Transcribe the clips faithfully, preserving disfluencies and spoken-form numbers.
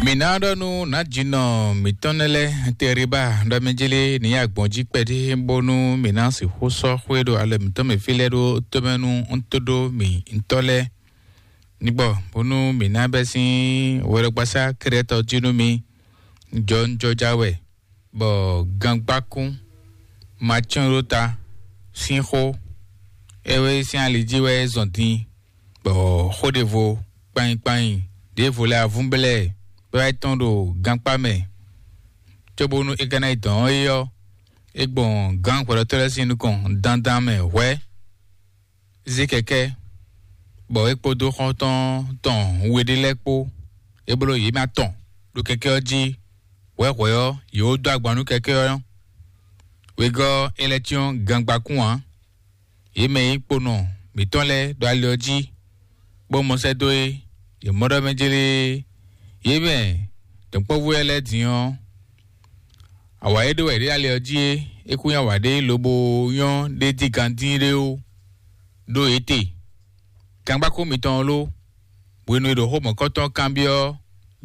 Mǐ ná ɖɔ nú nǎjínɔ mǐtɔn nɛ́ lɛ́ɛ Teriba ɖɔ mɛ jélé ní yi agbɔ̌n jí kpɛɖé, bónú mǐ ná sixú sɔ́ xwé ɖo alɔ mǐtɔn mɛ fí lɛ́ɛ ɖó tómɛ nú ntó ɖó mǐtɔn lɛ́ɛ ní gbɔ, bónú mǐ ná bɛ́ sín hwɛɖɔgbasá Krɛtɔ jí nú mì. Jɔnjɔja wɛ, bɔ gangbákún ma cyɔ́n ɖó ta sín xó, é wɛ sín ali jí wɛ é zɔn din, bɔ xó ɖěvo kpanyi kpanyi ɖěvo lɛ́ɛ avúnblɛ́ bɔ é tɔn ɖo gankpá mɛ, cóbónú é ka ná yi dɔn ɔ́ é ɔ́, é gbɔn gǎn hwɛɖɔtɔ́ lɛ́ɛ sín nukɔn dandan mɛ hwɛ̌, zé kɛkɛ́, bɔ é kpódó xɔ́ntɔn tɔn we ɖé lɛ́ɛ kpó, é bló yě mɛ atɔn ɖo kɛkɛ́ ɔ́ jí. Hwɛ̌hwɛ̌ ɔ́, yě wó dó agban nú kɛkɛ́ ɔ́. Wegɔ́ ɔ́, é lɛ́ cyɔ́n gangbakún ǎ. Yě mɛ e nyí kponɔ mǐtɔn lɛ́ɛ ɖo ali ɔ́ jí, bó mɔ sɛ́ dó é, yě mɔ ɖɔ mɛ jlé yě mɛ dɔ̌nkpɔ́vú lɛ́ɛ lɛ́ɛ din ɔ́, awǎ e ɖó wɛ yě ɖe ali ɔ́ jí é, é kún nyí awǎ ɖé lobo nyɔ́ ɖé dígán dín ɖé ó, ɖó yě te. Gangbákún mitɔn ɔ́ ló, hwenu e ɖo xó mɔ̌kɔtɔn kanbyɔ́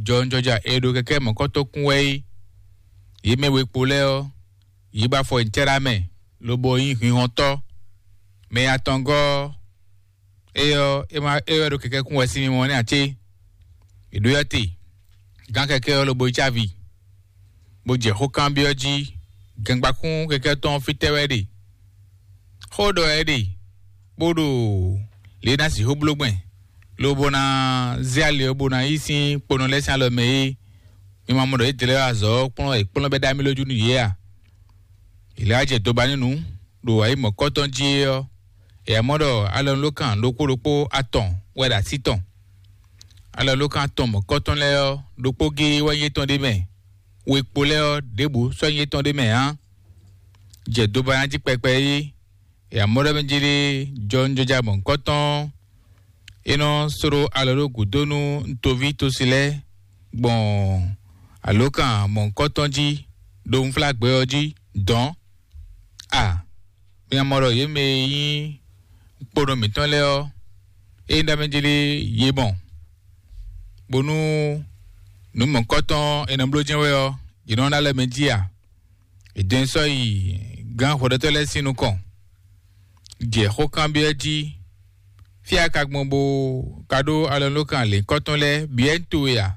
jɔwunjɔja e ɖo kɛkɛ́ mɔ̌kɔtɔn kún wɛ é, yě mɛ we kpo lɛ́ɛ ɔ́, yě ba afɔ nyi cɛ́ɖá mɛ, lobo nyí hinhɔntɔ́. Mɛ atɔngɔ́ ɔ́, é ɔ́, é ma é wɛ ɖo kɛkɛ́ kún wɛ sín mimɔ nɛ́ ǎ cé? È ɖǒ yɔ́ te, gǎn kɛkɛ́ ɔ́ lobo yi cávi, bó jɛ xó kanbyɔ́ jí, gangbákún kɛkɛ́ tɔn ɔ́ fítɛ́ wɛ é ɖe? Xó ɖɔ wɛ é ɖe, bó ɖo lě e ná sixú bló gbɛn, lobo ná zé ali ɔ́ bó ná yí sín kponɔ lɛ́ɛ sín alɔ mɛ é. Mi ma mɔ ɖɔ yědɛɛ lɛ́ɛ wá azɔ̌ ɔ́ kplɔ́n wɛ è kplɔ́n bɛ́ ɖó amilójú nú yě a? È lɛ́ wá jɛ doba nú nǔ ɖo ayǐ mɔ̌kɔtɔn jí é ɔ́, è wǎ mɔ ɖɔ alɔnulókan ɖokpó ɖokpó atɔn wɛ ɖo así tɔn. Alɔnulókan atɔn mɔ̌kɔtɔn lɛ́ɛ ɔ́, ɖokpó géé wɛ nyí étɔn ɖ'é mɛ; we kpo lɛ́ɛ ɔ́, ɖěbǔ sɔ́ nyí étɔn ɖ'é mɛ ǎ. Jɛ doba ná jí kpɛkpɛ é, è wǎ mɔ ɖɔ mɛ jí ɖé jɔwunjɔja mɔ̌hunkɔtɔn, é nɔ sló alɔ ɖó gǔdo nú toví tosi lɛ́ɛ gbɔn alǒkan mɔ̌hunkɔtɔn jí ɖo unflágbɛ ɔ́ jí dɔ̌n. A mi ma mɔ ɖɔ yě mɛ e nyí kponɔ mǐtɔn lɛ́ɛ ɔ́, ényí ɖɔ mɛ jí ɖé yě mɔ, bónú nǔ mɔ̌hunkɔtɔn e nɔ bló jɛ́n wɛ ɔ́, yě nɔ ná lɛ́ mɛ jí a? È dɔn ɛ sɔ́ yi gǎn hwɛɖɔtɔ́ lɛ́ɛ sín nukɔn, jɛ xó kanbyɔ́ jí, fí a ka gbɔn bó ka ɖó alɔnulókan lěhunkɔtɔn lɛ́ɛ bǐ wɛ nyí towe a?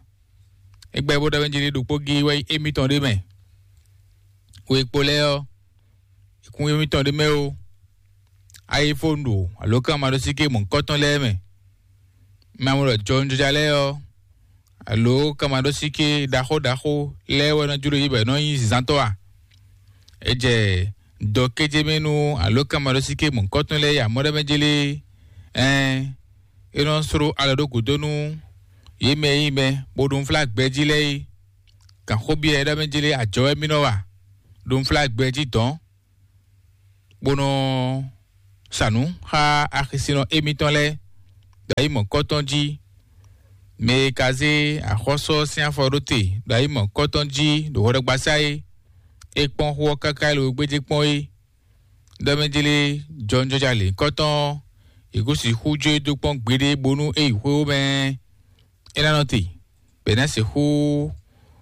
É gbɛ́ bó ɖɔ mɛ jí ɖé ɖokpó géé wɛ nyí émítɔn ɖé mɛ. We kpo lɛ́ɛ ɔ́, è kún émítɔn ɖé mɛ ó. A yi fó ɖo alǒkan maɖósíké mɔ̌hunkɔtɔn lɛ́ɛ mɛ. Ma mɔ ɖɔ jɔwunjɔja lɛ́ɛ ɔ́, alo kamaɖósíké ɖaxó ɖaxó lɛ́ɛ wɛ nɔ jló yí bɔ è nɔ nyí zǎntɔ́ a? È jɛ dɔ kéjé mɛ nú alǒkan maɖósíké mɔ̌hunkɔtɔn lɛ́ɛ yi amɔ̌ɖɛmɛjé lé? Ɛɛn, é nɔ sló alɔ ɖó gǔdo nú yě mɛ e nyí mɛ bó ɖo unflágbɛjí lɛ́ɛ é. Gǎnxóbyɔ́ e ɖɔ mɛ jlé ajɔ wɛ mì nɔ wa ɖo unflágbɛjí dɔ̌n, bó nɔ sa nǔ xá axisinɔ émítɔn lɛ́ɛ ɖo ayi mɔ̌kɔtɔn jí. Mɛ e ka zé axɔ́sú ɔ́ sín afɔ ɖó te ɖo ayi mɔ̌kɔtɔn jí ɖo hwɛɖɔgbasá é, é kpɔ́n xó ɔ́ káká e lo gbéjé kpɔ́n é, ɖɔ mɛ jlé jɔwunjɔja lěhunkɔtɔn ɔ́, è kó sixú jó e dó kpɔ́n gbeɖé bónú é yi xwé mɛ é ná nɔ te, bɔ è nǎ sixú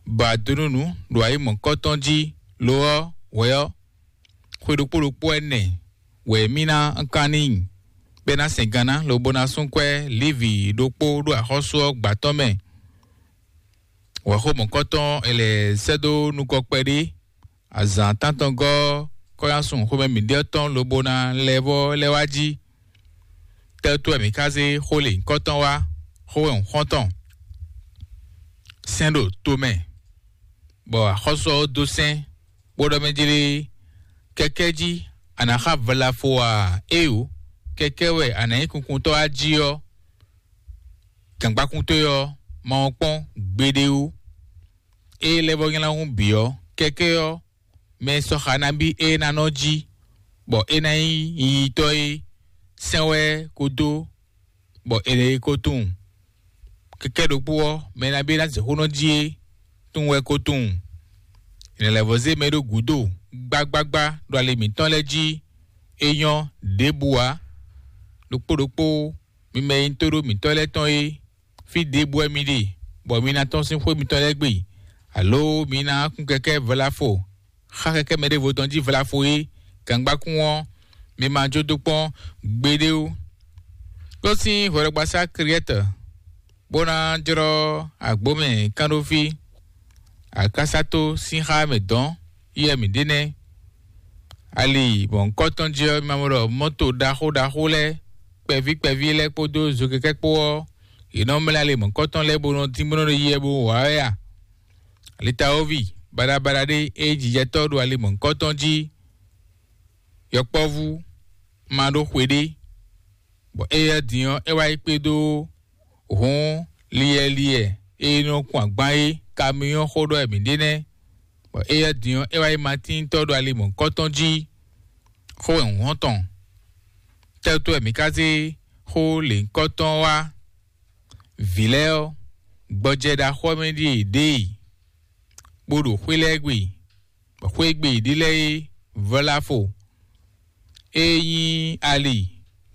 ba dó nú nǔ ɖo ayi mɔ̌kɔtɔn jí. Lo ɔ́, hwɛ ɔ́, xwe ɖokpó ɖokpó ɛnɛ wɛ mì ná kan n'i, bɔ é ná sɛn gan ná, lobo ná sú kwɛ́ Livi ɖokpó ɖo axɔ́sú ɔ́ gbǎtɔ́ mɛ. Wɛ̌xo mɔ̌kɔtɔn è lɛ̌ sɛ́ dó nukɔ kpɛɖé, azǎn tántɔngɔ́ kɔ́yásun xomɛ mǐɖyɔ́ tɔn lobo ná lɛ́ vɔ́ lɛ́ wá jí. Tɛ́tú wɛ mǐ ka zé xó lěhunkɔtɔn wá, xó wɛ xɔ́ntɔn sɛn ɖo to mɛ, bɔ axɔ́sú ɔ́ dó sɛ́n, bó ɖɔ mɛ jlé kɛkɛ́ jí a nǎ xa vlafo ǎ. Éeǒ, kɛkɛ́ wɛ a nǎ nyí kunkuntɔ́ wá jí ɔ́, gǎngbákún towe ɔ́ ma wɔn kpɔ́n gbeɖé ó. Ée lɛ́ vɔ́ nylá hún bǐ ɔ́, kɛkɛ́ ɔ́, mɛ e sɔ́ xa nabí é ná nɔ jí, bɔ é ná nyí yiyitɔ́ é sɛn wɛ ko dó, bɔ è nɔ yi ko tunwun. Kɛkɛ́ ɖokpó ɔ́, mɛ nabí é ná zɛ xó nɔ jí é tunwun wɛ ko tunwun. È nɔ lɛ́ vɔ́ zé mɛ ɖó gǔdo gbágbágbá ɖo ali mǐtɔn lɛ́ɛ jí. É nyɔ́ ɖěbǔ ǎ. Ɖokpó ɖokpó mi mɛ e nyí tóɖó mǐtɔn lɛ́ɛ tɔn é, fí ɖěbǔ wɛ mi ɖe, bɔ mi ná tɔ́n sín xwé mitɔn lɛ́ɛ gbe, alo mi ná kún kɛkɛ́ vlafo, xa kɛkɛ́ mɛ ɖěvo tɔn jí vlafo é, gangbákún ɔ́, mi ma jó dó kpɔ́n gbeɖé ó. Ɖó sín hwɛɖɔgbasá Kriɛ́tɔ, bó ná jlɔ́ agbǒ mɛ kánɖófí, akásátó sín xá mɛ dɔ̌n yɛ mǐ ɖe nɛ́. Ali mɔ̌hunkɔtɔn jí ɔ́, mi ma mɔ ɖɔ mɔ́to ɖaxó ɖaxó lɛ́ɛ, kpɛví kpɛví lɛ́ɛ kpódó zokɛkɛ́ kpó ɔ́, yě nɔ mlá ali mɔ̌hunkɔtɔn lɛ́ɛ bó nɔ dín bó nɔ ɖo yiyi wɛ bó wǎ wɛ a? Alitawoví baɖabaɖa ɖé e jijɛtɔ́ ɖo ali mɔ̌hunkɔtɔn jí, yɔkpɔ́vú ma ɖó xwe ɖé, bɔ éyɛ́ din ɔ́, é wá yi kpé dó hǔn liɛliɛ e nɔ kun agban é, kamiyɔ́n xó ɖɔ wɛ mǐ ɖe nɛ́, bɔ éyɛ́ din ɔ́, é wá yi matíntɔ́ ɖo ali mɔ̌hunkɔtɔn jí. Xó wɛ hǔn hɔn tɔn. Tɛ́tú wɛ mǐ ka zé xó lěhunkɔtɔn wá? Vǐ lɛ́ɛ ɔ́, gbɔjɛ ɖaxó ɔ́ mɛ ɖíe yě ɖe e, bó ɖo xwé lɛ́ɛ gbe, bɔ xwé e gbe yě ɖe lɛ́ɛ é vɔ́ lá fo. Ée nyí ali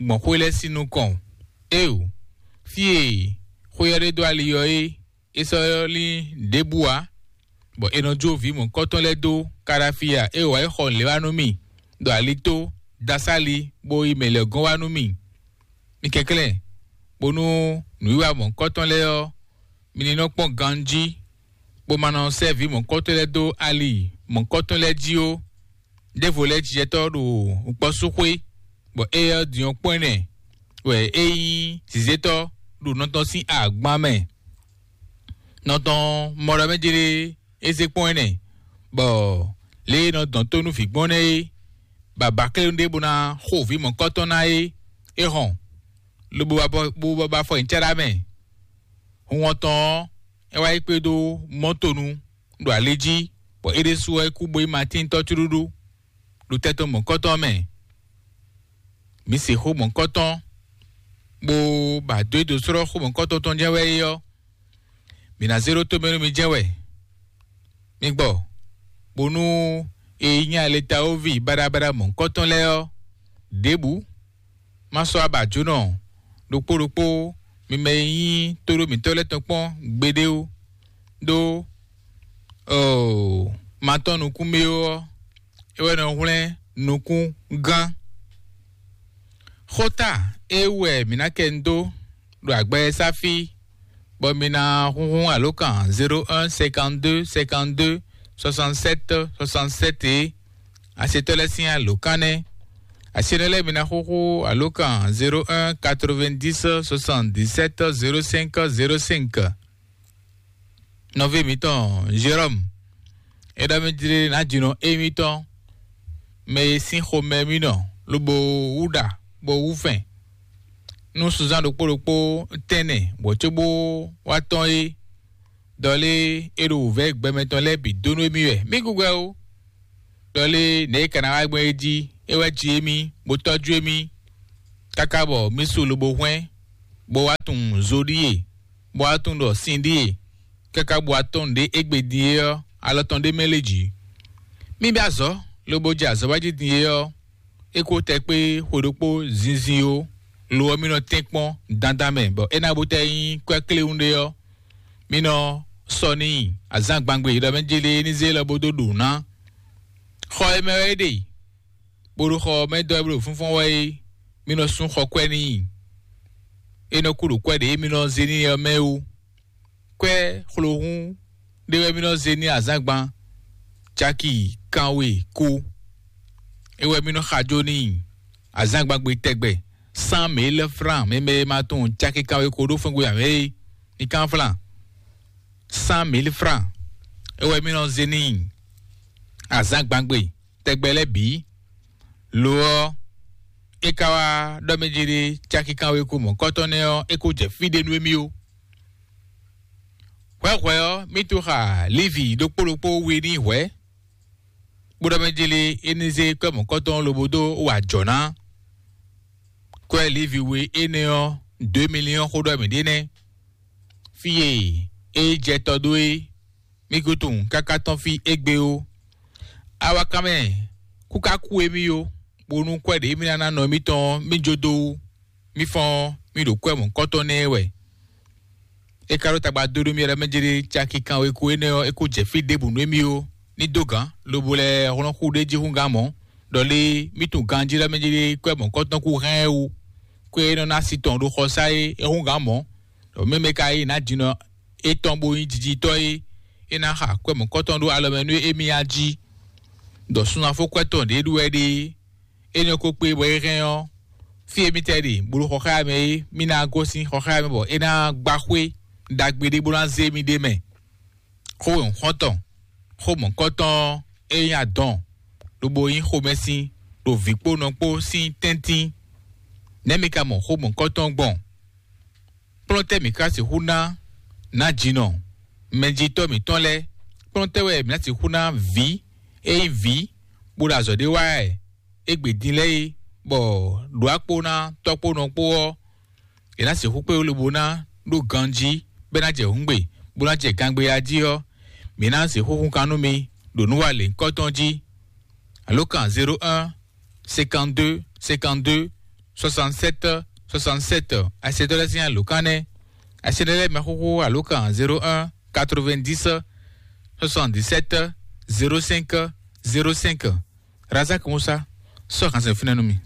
gbɔn xwé lɛ́ɛ sín nukɔn. Éeǒ, fí e xwé ɔ́ ɖe dó ali ɔ́ é, é sɔ́ lín ɖěbǔ ǎ, bɔ è nɔ jó vǐ mɔ̌hunkɔtɔn lɛ́ɛ dó Kalafia e wǎ yi xɔ nǔléwa nú mì ɖo ali tó, dasá ali, bó yi mɛ lɛ́ gɔ́n wá nú mì. Mi kɛnklɛ́n, bónú nǔwiwa mɔ̌hunkɔtɔn lɛ́ɛ ɔ́, mi ní nɔ kpɔ́n ganjí, bó ma nɔ sɛ́ vǐ mɔ̌hunkɔtɔn lɛ́ɛ dó ali mɔ̌hunkɔtɔn lɛ́ɛ jí ó. Ɖěvo lɛ́ɛ jijɛtɔ́ ɖo kpɔ́súxwé, bɔ éyɛ́ ɔ́ din ɔ́ kpɔ́n ɛnɛ wɛ é nyí zǐzétɔ́ ɖo nɔ tɔn sín agban mɛ. Nɔ tɔn mɔ ɖɔ mɛ jlé é zé kpɔ́n ɛnɛ, bɔ lě e nɔ dɔn tó nú vǐ gbɔn nɛ́ é, bɔ abǎklénu ɖé bó ná xo vǐ mɔ̌kɔ́tɔn ná é, é hɔn, lobo wá bɔ bó bɔ bɔ afɔ nyi cá ɖó amɛ. Hun ɔ́ tɔn ɔ́, é wá yi kpé dó mɔ́to nu ɖo ali jí, bɔ é ɖésú ɔ́ é kú bó yi Matín tɔ́ cúɖúɖú ɖo tɛ́ tɔn mɔ̌kɔ́tɔn mɛ. Mǐ se xó mɔ̌kɔ́tɔn, bó ba dó é dó slɔ́ xó mɔ̌kɔ́tɔn tɔn jɛ́n wɛ é ɔ́, mǐ ná zé ɖó tomɛ nú mi jɛ́n wɛ. Mi gbɔ, bónú e nyí aletawoví baɖabaɖa mɔ̌kɔ́tɔn lɛ́ɛ ɔ́, ɖěbǔ má sɔ́ abǎjǒnɔ ɖokpó ɖokpó mi mɛ e nyí tóɖó mǐtɔn lɛ́ɛ tɔn kpɔ́n gbeɖé ó, ɖó oo, ma tɔ́n nukún mɛ ó ɔ́, é wɛ nɔ hwlɛ́n nukún gán. Xóta e wú wɛ mǐ ná kɛ nu dó ɖo agbɛ́sáfí, bɔ mi ná húnhún alǒkan zéro un cinquante-deux cinquante-deux soixante-sept soixante-sept é. Asetɔ́ lɛ́ɛ sín alǒkan nɛ́. Asenɔ lɛ́ɛ mi ná xúxú alǒkan zéro un quatre-vingt-dix soixante-dix-sept zéro cinq zéro cinq. Nɔví mǐtɔn Jérɔ́mu, é ɖɔ mì jlé nǎjínɔ émítɔn, mɛ e sín xomɛ mì nɔ, lobo wú ɖa, bó wú fɛn. Nú sunzán ɖokpó ɖokpó tɛ́nnɛ wǒ cóbó wá tɔ́n é, ɖɔ lé é ɖo wǔvɛ́ gbɛmɛ tɔn lɛ́ɛ bǐ dó nú émí wɛ. Mí gúgwɛ ó, ɖɔ lé nɛ̌ é ka ná wá gbɔn é jí, é wɛ ji émí, bó tɔ́jú émí, káká bɔ mí su lobo hwɛ́n, bó wá tunwun zo ɖíe, bó wá tunwun ɖɔ sin ɖíe, káká bó wá tɔ́n nǔɖé égbé din é ɔ́, alɔ tɔn ɖé mɛ lé jǐ. Mí bɛ́ azɔ̌, lobo jɛ azɔ̌ wá jí din é ɔ́, é kó tɛ kpé xwe ɖokpó zinzin ó, lo ɔ́ mì nɔ tɛ́nkpɔ́n dandan mɛ, bɔ é ná bó tɛ nyí kwɛ́ kléwún ɖé ɔ́, mì nɔ sɔ n'i azǎn gbangbe ɖɔ mɛ jélé ní zé lɔ bó dó ɖu ná. Xɔ e mɛ wɛ é ɖe, bó ɖo xɔ ɔ́ mɛ dɔ́ ɛ bó ɖo fúnfún wɛ é, mì nɔ sú xɔ kwɛ́ n'i. É nɔ kú ɖo kwɛ́ ɖě mì nɔ zé n'i ɔ́ mɛ wú. Kwɛ́ xlohún ɖé wɛ mì nɔ zé n'i azǎngban caki kanwe kú. É wɛ mì nɔ xajo n'i azǎngban gbe tɛgbɛ, cent mille francs, mɛ mɛ e ma tunwun caki kanwe ko ɖó fɛ́ngbé ǎ é, mi kán flán. Cent mille francs, é wɛ mì nɔ zé n'i azǎngban gbe tɛgbɛ lɛ́ɛ bǐ. Lo ɔ́, é ka wá ɖɔ mɛ jí ɖé caki kanwe ko mɔ̌kɔ́tɔn nɛ́ ɔ́, é ko jɛ fí ɖé nú émí ó. Hwɛ̌hwɛ̌ ɔ́, mì to xa Livi ɖokpó ɖokpó we n'i hwɛ̌, bó ɖɔ mɛ jí lé é ní zé kwɛ́ mɔ̌kɔ́tɔn lobo dó wa jɔ̌ ná. Kwɛ́ Livi we énɛ́ ɔ́, deux millions xó ɖɔ mǐ ɖe nɛ́. Fí e é jɛ tɔ dó é, mì ko tunwun káká tɔ́n fí égbé ó. Awakanmɛ kú ka kú émí ó, bónú kwɛ́ ɖě mì ná ná nɔ émítɔn ɔ́, mì jó dó wú, mì fɔ́n ɔ́, mì ɖo kwɛ́ mɔ̌kɔ́tɔn nɛ́ wɛ. É ka ɖó tagba dó nú mì lɛ́ɛ mɛ jlé caki kanweko énɛ́ ɔ́, é kó jɛ fí ɖěbǔ nú émí ó. Ní dó gǎn, lobo lɛ́ hlɔ́n xú ɖé jí hú gǎn mɔ̌, ɖɔ lé mí tunwun ganjí lɛ́ɛ mɛ jlé kwɛ́ mɔ̌kɔtɔn kú hɛn ɛ wú. Kwɛ́ é nɔ ná si tɔn ɖo xɔsá é, é hú gǎn mɔ̌, ɖɔ mɛmɛ ka yí nǎ jinɔ étɔn bó nyí jijitɔ́ é, é ná xa kwɛ́ mɔ̌kɔtɔn ɖó alɔ mɛ nú émí a jí. Ɖɔ sunafó kwɛ́ tɔn ɖě ɖu wɛ ɖe, énɛ́ ko kpé bɔ é hɛn ɔ́, fí e mítɛ́ ɖe bó ɖo xɔxáya mɛ é, mí ná gosín xɔxáya mɛ bɔ é ná gbá xwé ɖagbe ɖé bó ná zé mì ɖ'é mɛ. Xó e un xɔ́n tɔn, xó mɔ̌kɔtɔn ɔ́, é nyí adɔn, lobo nyí xomɛsin ɖo vǐ kpó nɔ kpó sín tɛ́ntin. Nɛ̌ mi ka mɔ xó mɔ̌kɔtɔn gbɔn? Kplɔ́n tɛ́ mǐ ka sixú ná nǎjinɔ mɛjitɔ́ mǐtɔn lɛ́ɛ? Kplɔ́n tɛ́ wɛ mǐ ná sixú ná vǐ e nyí vǐ bó ɖo azɔ̌ ɖé wa wɛ égbé din lɛ́ɛ é, bɔ ɖǒ akpó ná tɔ́ kpó nɔ kpó ɔ́, è nǎ sixú kpé lobo ná ɖó ganjí, bɔ é ná jɛ hǔngbe, bó ná jɛ gangbeya jí ɔ́, mǐ ná sixú hun kan nú mi ɖo nǔ wa lěhunkɔtɔn jí. Alǒkan zéro un cinquante-deux cinquante-deux soixante-sept soixante-sept. Asyɛtɔ́ lɛ́ɛ sín alǒkan nɛ́. Asyɛtɔ́ lɛ́ɛ mɛ xóxó alǒkan zéro un quatre-vingt-dix soixante-dix-sept zéro cinq zéro cinq. Razak Musa, sɔ́ xansɛn fínɛ́ nú mi.